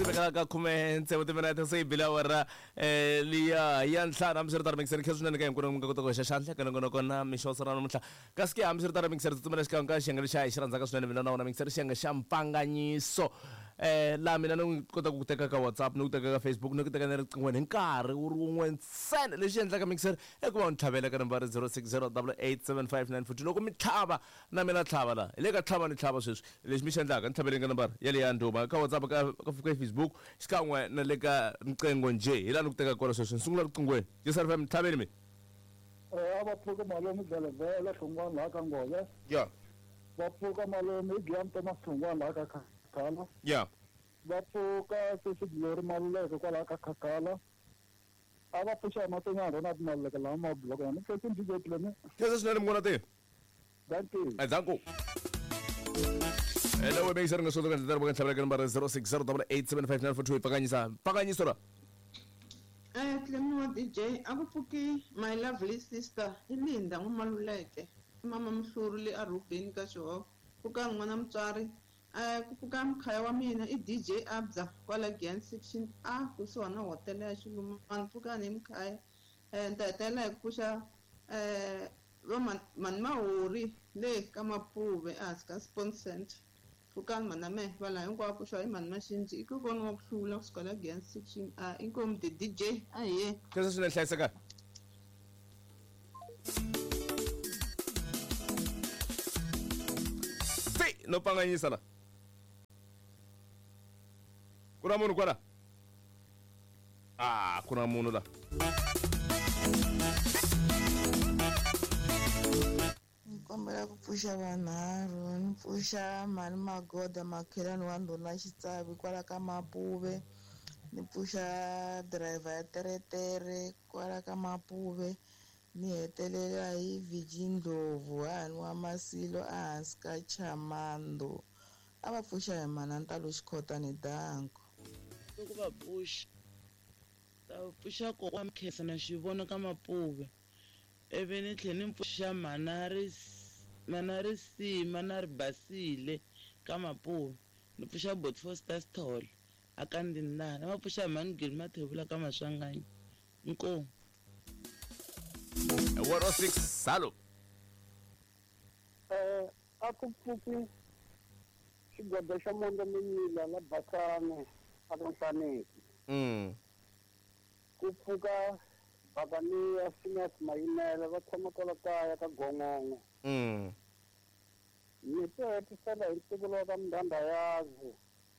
Swi vekela ka khume tsevu timinete se yi bile awara liya ya ntlhanu. Hambiswiritano mixer khe swinene ka hinkwenu mi nga kota ku hoxa xandla ka nongonoko na mixo ra namuntlha. Kasi ke hambiswiritano mixer tsutsumela xikan'we ka xiyenge lexi hi xi rhandzaka swinene mina na wona mixer xiyenge xa mpfanganyiso. Laha mina ni kota ku teka ka WhatsApp ni ku teka ka Facebook ni ku teka na riqinghweni hi nkarhi wu ri wun'we ntsena. Lexi endlaka mixer i ku va u ni tlhavela ka nambara 060 8875942. Loko mi tlhava na mina tlhava la. Hi le ka tlhava ni tlhava sweswi. Lexi mi xi endlaka ni tlhaveleni ka nambara yaleyo ya ndhuma ka WhatsApp ka ka Facebook xikan'we na le ka riqingho njhe. Hi laha ni ku tekaka kona sweswi. Ni sungula riqinghweni. Yes FM tlhaveni mi. A va pfuka malume Dlelevele Hlongwane laha ka Ngove. Ya. Va pfuka malume i Giyani Thomas Hlongwane laha ka Khakhala. Ya. Va pfuka sesi Glory Maluleke kwalaha ka Khakhala. A va pfuxa hi Matonyana Ronald Maluleke laha Mabloko. Ni khensa DJ Clement. Khensa swinene munghana te. Dankie. Danko. Hello, we mixer nga solo ka ndlela ka ntlhavela ka nambara 0608875942 pfakanyisa. Pfakanyiso la. Clement wa DJ a ku pfuki my lovely sister i Linda N'wamaluleke i mama Mhluri le Arubeni ka Xihoko pfuka n'wana mutswari ku pfuka mkhaya wa mina i DJ Abza kwala Giyani section A kusuhana na hotela ya Xilumani pfukani hi mkhaya ni ta hetelela hi ku pfuxa va mani Mahori le ka Mapuve ehansi ka Sports Center pfukani mana mehe va laha hinkwavo pfuxiwa hi mani Maxinji i kokwana wa ku hlula kusuka la Giyani section A inkomu the DJ a hi ye. Khensa swinene hlayiseka. Ti no pfanganyisa la. Ku na munhu kwala? Ah, ku na munhu la. Ni kombela ku pfuxa vanharhu ni pfuxa mhani Magoda makhelwani wa ndhuna Xitsavi kwala ka Mapuve ni pfuxa driver ya teretere kwala ka Mapuve ni hetelela hi Virgin Ndlovu hahani wa Masilo ehansi ka Chamando a va pfuxa hi mhana Ntalo Xikhotani danko. Loko va pfuxa ta pfuxa kokwa Mkhesa na Xivona ka Mapuve ivi ni tlhela ni pfuxa mhana Risima na Ribasile ka Mapuve ni pfuxa Boti Foster Sithole a ka Ndindana va pfuxa mhani Gili Mathebula ka Maswanganyi inkomu. 106 salo. A ku pfuki xigwada xa Mondza Minyila la Basane a ka Nhlaneki. Ku pfuka Bakaniya Phineas Mayimele va tshama kwala kaya ka Gongongo. Ni to hetisela hi ntukulu wa ka Mdandhayazi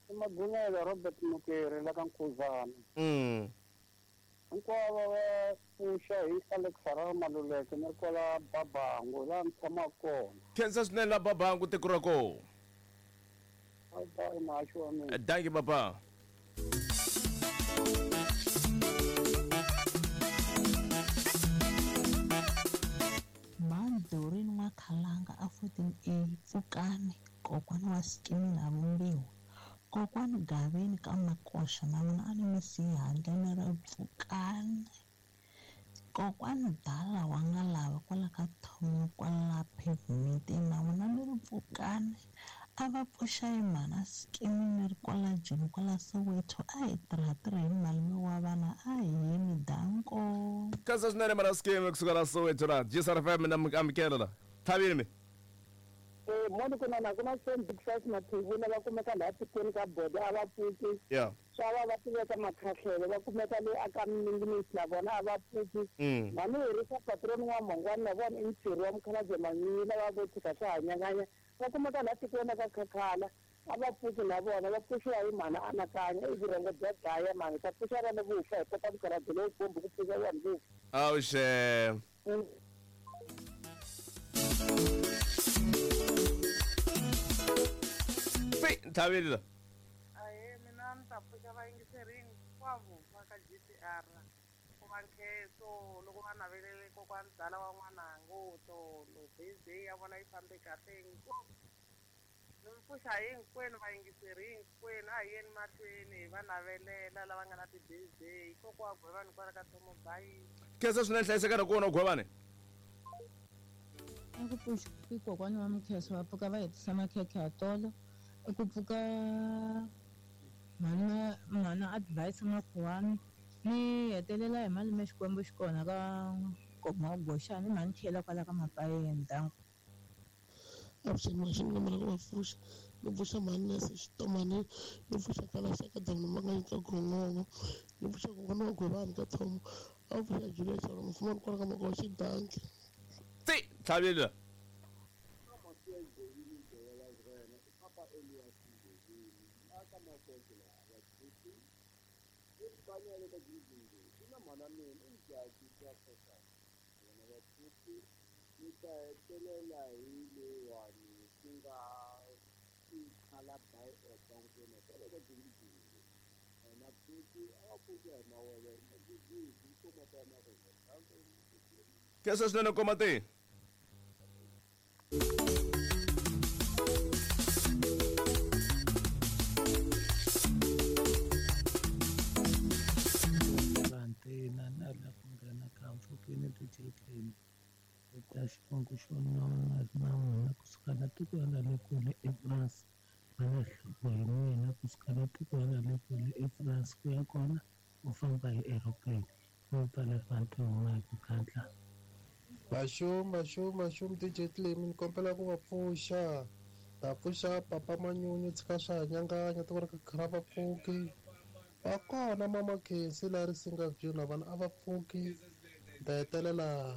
i Magumela Robert Mukeri la ka Nkhuzana. Hinkwavo va pfuxa hi Alex Harare Maluleke ni ri kwala Babangu laha ni tshamaka kona. Khensa swinene la Babangu tiko ra kona. Bye bye muhaxi wa mina. Dankie baba. Mhani Doreen N'wakhalanga a 14A Pfukani kokwana wa Sikimi na Vumbiwa kokwani Gaveni ka Makoxa na vona a ni mi siyi handle ni ri Pfukani kokwani Dala wa nga lava kwala ka Thomo kwala pavement na vona ni ri Pfukani a va pfuxa hi mhana Sikimi ni ri kwala Joni kwala Soweto a hi tirha hi malume wa vana a hi yeni danko. Khensa swinene mhana Sikimi kusuka la Soweto la GSR FM na amukela la. Thavini mi. Moni ku na na ku na Sam Big Size Mathebula va kumeka laha tikweni ka Bodo a va pfuki. Swa va va tiveka makhahlelo va kumeka le aka Mingiminsi na vona a va pfuki. Mhani Herisa patron wa Mhongwani na vona i Mtshiri wa Mukhalabye Manyunyu lava vo tshika swa hanyanganya va kumeka laha tikweni ka Khakhala a va pfuki na vona va pfuxiwa hi mhana Anakanya i vurhongo bya dlaya mhani ta pfuxa vana vo fa hi kota mukhalabye lowu bombi ku pfuxa vanhu vo fa. Awuxe. Fi Nthavini la. Ahee mina ni ta pfuxa vayingiseri hinkwavo va ka GCR ku va nkhenso loko va navelele kokwani Dala wa n'wanango tolo birthday ya vona yi fambe kahle ngopfu. Ni mi pfuxa hinkwenu vayingiseri hinkwenu a hi yeni mahlweni hi va navelela lava nga na ti-birthday kokwa Gwevani kwala ka Thomo Bayi. Khensa swinene hlayiseka na kona Gwevani. A ku pfuxi kokwana wa Mkheso va pfuka va hetisa makhekhe ya tolo. I ku pfuka Mhana mhana Advice Makhuwani. Ni hetelela hi malume Xikwembu xi kona ka Nkoma wa Goxani mhani Thiyela kwala ka Mapayeni. Danko. Avuxeni maxini kombela ku va pfuxa ni pfuxa mhani Nese Xitomani ni pfuxa Kalaxa ka Damu Manganyi ka Gongongo ni pfuxa kokwana wa Gwebani ka Thomo a pfuxa Julia Chauke mufumani kwala ka Makoxi danki. Tsi tlhavile. Khensa swinene koma te. Vantina na la ku nghena ka mpfhukeni DJ Clem eka xivongo xo nona na n'wina kusuka la tikweni ra le kule eFrance va na nhloko hi mina kusuka la tikweni ra le kule eFrance ku ya kona u famba hi aeroplane mi pfala rivanti huma hi ku gandla. Maxum maxum maxum DJ Clem ni kombela ku va pfuxa ta pfuxa papa manyunyu tshika swa hanyanganya tiko ra ka khara va pfuki va kona mama Khensi la ri singa view na vana a va pfuki ni ta hetelela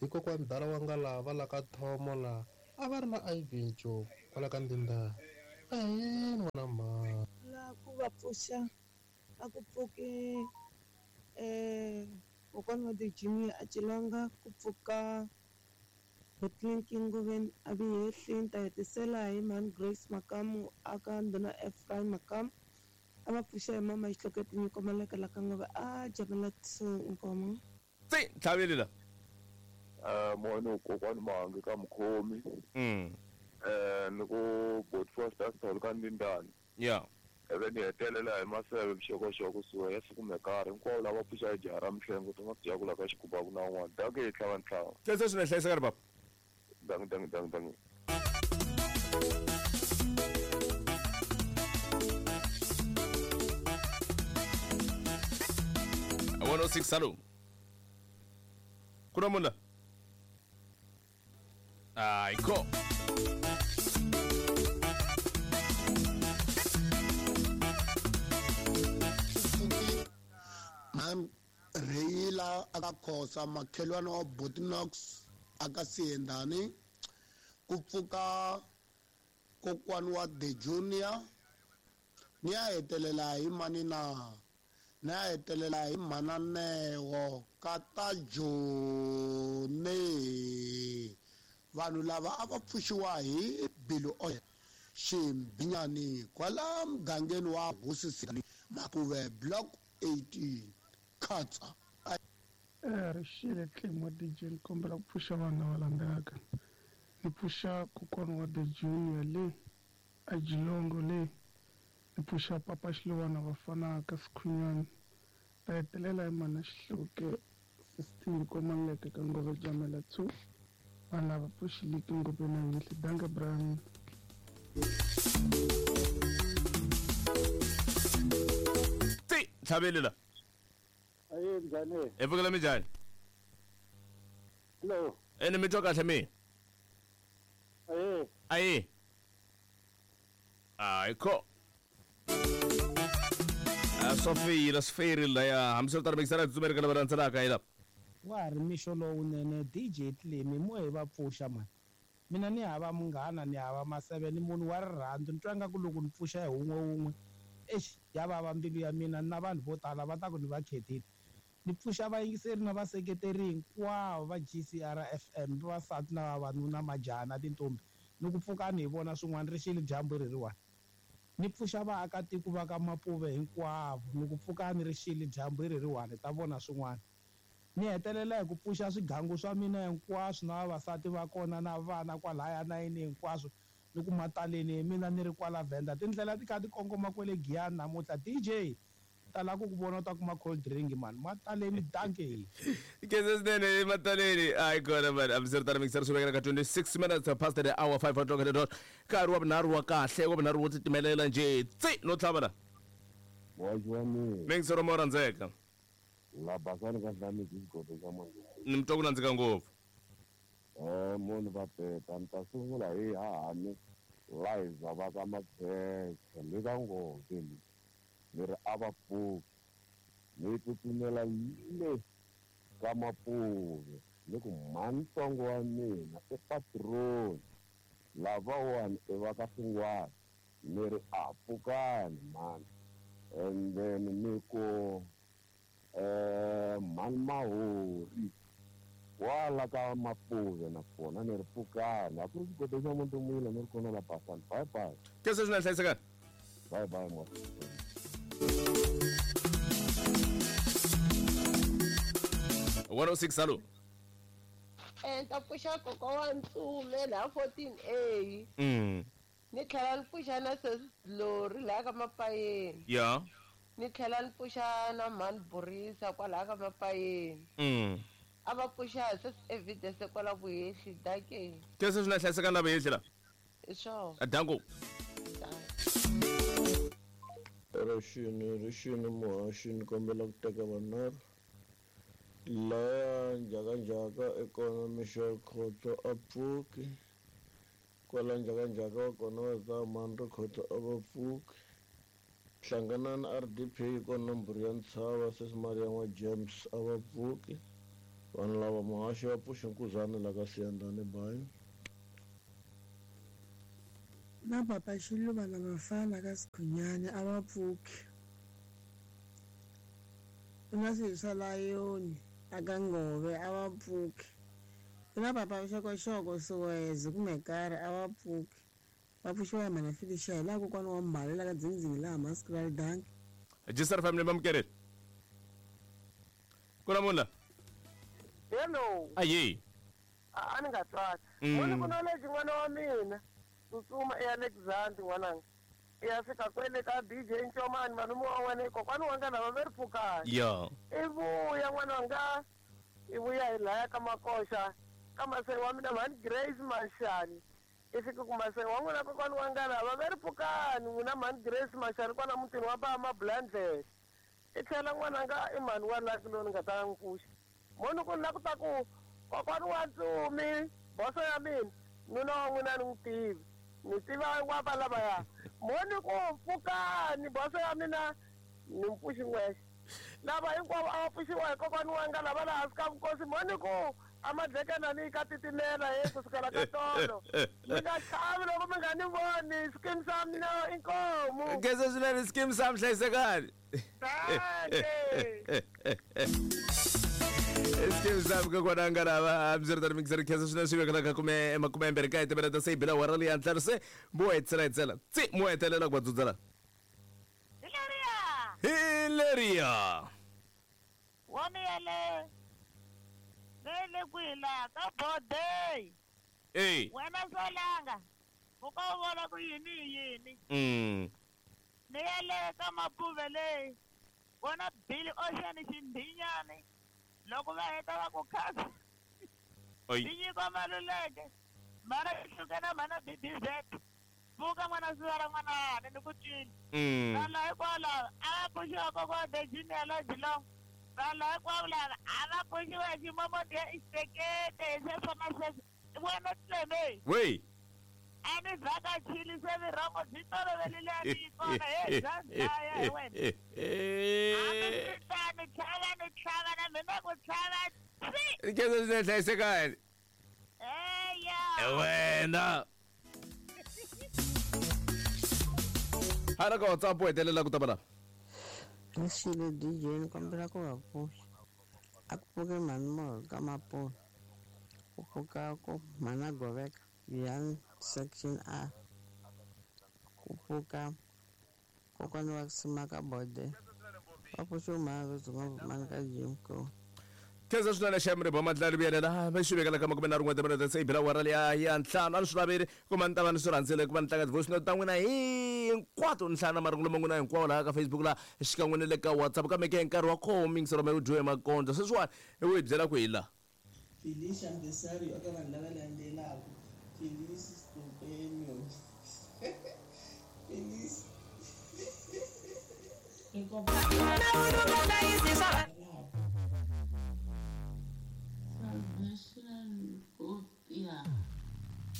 hi kokwani dala wa nga lava la ka Thomo la a va ri na Ivy Njoku kwala ka Ndindani ahee n'wana mhani. La ku va pfuxa a ku pfuki kokwana wa The Junior a celanga ku pfuka Botlinki Ngoveni a vi hehli ni ta hetisela hi mhani Grace Makamu a ka ndhuna Ephraim Makamu a va pfuxa hi mama Xihloke Tinyiko Maleka la ka Ngove a jamela 2 Nkomo. Tsi tlhavile la. Mono kokwani Mahangi ka Mukhomi. Ni ku Bot Foster Sithole ka Ndindani. Yeah. Ivi ni hetelela hi Maseve Vuxokoxoko kusuka ya siku mekari hinkwavo lava pfuxa hi jaha ra Mihlengo ti nga ku jakula ka xigubaku na un'wana. Dankie hi tlhava ntlhava. Khensa swinene hlayiseka ri papa. Dankie dankie dankie dankie. 106 hello. Ku na munhu la? Ayikho. Mam Reyila aka Khosa makhelwani wa Botinox aka Siyendani ku pfuka kokwani wa The Junior ni ya hetelela hi mani na ni ya hetelela hi mhananeo kata Joni vanhu lava a va pfuxiwa hi Bilu Oil Ximbinyani kwala mugangeni wa Hosi Makuve block 18 khatsa. Rixile Clem wa DJ ni kombela ku pfuxa vanhu lava landzelaka ni pfuxa kokwana wa The Junior le a Jilongo le ni pfuxa papa Xiluwana vafana ka Sikhunyani ta hetelela hi mhana Xihluke 16 Komaleke ka Ngove Jamela 2 vanhu lava pfuxiliki ngopfu na yinhle danke Brian. Tsi tlhavile la. Aye njhani? Hi pfukela minjhani? Hello. Ene mi twa kahle mi? Aye. Aye. Ayikho. Swa feyila swi feyirile laya hambiswiritano mikisana tsutsumeri ka lava landzelaka hi la. Wa ha ri mixo lowunene DJ Clem mo hi va pfuxa mani. Mina ni hava munghana ni hava maseve ni munhu wa rirhandzu ni twa nga ku loko ni pfuxa hi wun'we wun'we exi ya vava mbilu ya mina na vanhu vo tala va ta ku ni va khetile. Ni pfuxa vayingiseri na vaseketeri hinkwavo va GCR FM vavasati na vavanuna majaha na tintombi ni ku pfukani hi vona swin'wana ri xile dyambu reriwani. Ni pfuxa vaakatiko va ka Mapuve hinkwavo ni ku pfukani ri xile dyambu reriwani ta vona swin'wana. Ni hetelela hi ku pfuxa swigangu swa mina hinkwaswo na vavasati va kona na vana kwalaya na yini hinkwaswo ni ku mataleni mina ni ri kwala Venda tindlela ti kha ti kongoma kwele Giyani namuntlha DJ tala ku ku vona u ta kuma cold drink mani mataleni dankie. Khensa swinene mataleni hayi kona mani hambiswiritano mikisana swi vekela ka 26 minutes past the hour 5 o'clock the dot nkarhi wa vunharhu wa kahle wa vunharhu wo titimelela njhe tsi no tlhava la. Muhaxi wa mina. Mingisero mo rhandzeka. La basani ka hlamisi xigodo xa manje. Ni mi twa ku nandzika ngopfu. Munhu va peta ni ta sungula hi hahani Liza va ka Makhekhe ni va nghozi ni ni ri a va pfuki ni tsutsumela le ka Mapuve ni ku mhani ntsongo wa mina i patroni lavawani i va ka Xingwana ni ri a pfukani mhani and then ni ku mhani Mahori wala ka Mapuve na kona ni ri pfukani a ku ri xigodo xa Muntumila ni ri kona la Basani. Bye bye. Ke se swi na hlayisekani. Bye bye mwa. 106 alo. Ni ta pfuxa kokwa wa Ntsume laha 14A. Ni tlhela ni pfuxa na sesi Lori laha ka Mapayeni. Ya. Ni tlhela ni pfuxa na mhani Borisa kwalaha ka Mapayeni. A va pfuxa sesi Evidence kwala Vuhehli dakeni. Ke se swi na hlayisekani la Vuhehli la? Hi swona. Danko. Rixini, rixini muhaxi ni kombela ku teka vanharhu. Laya njhakanjhaka i kona Michelle Khotso a pfuki. Kwala njhakanjhaka wa kona wa Zamani ri Khotso a va pfuki. Hlanganani RDP yi kona nomboro ya ntshava sesi Maria wa James a va pfuki. Vanhu lava muhaxi va pfuxe nkuzana la ka Siyandhani bayi. Na papa Xiluva na vafana ka Sikhunyani a va pfuki. Ku na swilo swa layoni a ka Ngove a va pfuki. Ku na papa Xokoxoko Suweze kumbe karhi a va pfuki. Va pfuxiwa hi mhana Felicia hi laha kokwana wa Mbali la ka Dzindzini laha Maskrali Danki. Jisar family mamkereni. Ku na munhu la? Hello. Aye. A ni nga twali. Muni ku knowledge n'wana wa mina. Tsutsuma e Alexander n'wananga. I ya fika kwele ka DJ Ncomani malume wa wena kokwana wa nga lava ve ri pfukani. Ya. I vuya n'wananga. I vuya hi laya ka Makoxa ka masenge wa mina mhani Grace Mashani. I fika ku masenge wa n'wina kokwana wa nga lava ve ri pfukani n'wina mhani Grace Mashani kwala mutini wa ba Mabulandlela. I tlhela n'wananga i mhani wa Lucky loyi ni nga ta n'wi pfuxa. Moni ku la ku ta ku kokwana wa Ntsumi boso ya mina nuna wa n'wina ni n'wi tivi. Ni tiva wa va lavaya. Moni ku pfukani boso ya mina ni mpfuxi n'wexe. Lava hinkwavo a va pfuxiwa hi kokwana wa nga lava laha hansi ka vukosi. Moni ku a madlekana ni ka titimela he kusukela ka tolo. Mi nga chavi loko mi nga ni voni. Skim sam mina inkomu. Kese swinene skim sam hlayisekani. Skim sam kokwana nga lava hambiritano mingiseri khensa swinene swi vekela ka kume makume mbirhi kaye timinete se yi bile awara leyi ya ntlhanu se mo hetisela hetisela tsi mo hetelela ku va dzudzela. Hi leriya. Wa mi yale le kwihi laha ka Bodey. Ey. Wena Solanga u ka u vona ku yini hi yini. Ni yale ka Mapuve leyi vona Billy Ocean xindhinyani loko va heta va ku khasa. Oi. Tinyiko Maluleke mara hluke na mhana BBZ. Pfuka n'wana sivara n'wana ni ku twini. Vanhu hinkwavo a va pfuxiwa kokwana the junior la Geelong. Vanhu hinkwavo lava a va pfuxiwa hi ximomoto ya ixekete hi sweswo na sweswo. Wena Cleme. Wey. A ni vhakachile se vurhongo byi tolovelile a ni yi kona he bya dlaya hi wena. Hambi swi tani tlhava ni tlhava na mina ku tlhava tsi. Khensa swinene hlayisekani. Eya. Wena. Hala ka WhatsApp u hetelela ku ta va la. Rixile DJ ni kombela ku va pfuxa. A ku pfuke mhani Molo ka Mapuve. Ku pfuka ku mhana Goveka Young section A. Ku pfuka kokwana wa Simaka Bode. Va pfuxiwe mhana ro dzunga mhani ka Jim Crow. Khensa swinene xa mri Bomadlali vuyelela va xi vekela ka makume nharhu n'we timinete se yi bile awara liya ya ntlhanu a ni swi laveli ku va ni ta va ni swi rhandzile ku va ni tlanga ti-voice note ta n'wina hinkwato ni hlaya na marungulo ma n'wina hinkwawo laha ka Facebook laha xikan'we ni le ka WhatsApp kambe ke nkarhi wa koho mingiselo me wu dyiwe makondzo sweswiwani i wu hi byela ku hi laha. Felicia Mbesario eka vanhu lava landzelaka Felice Stupeno. Felice. Inkomu.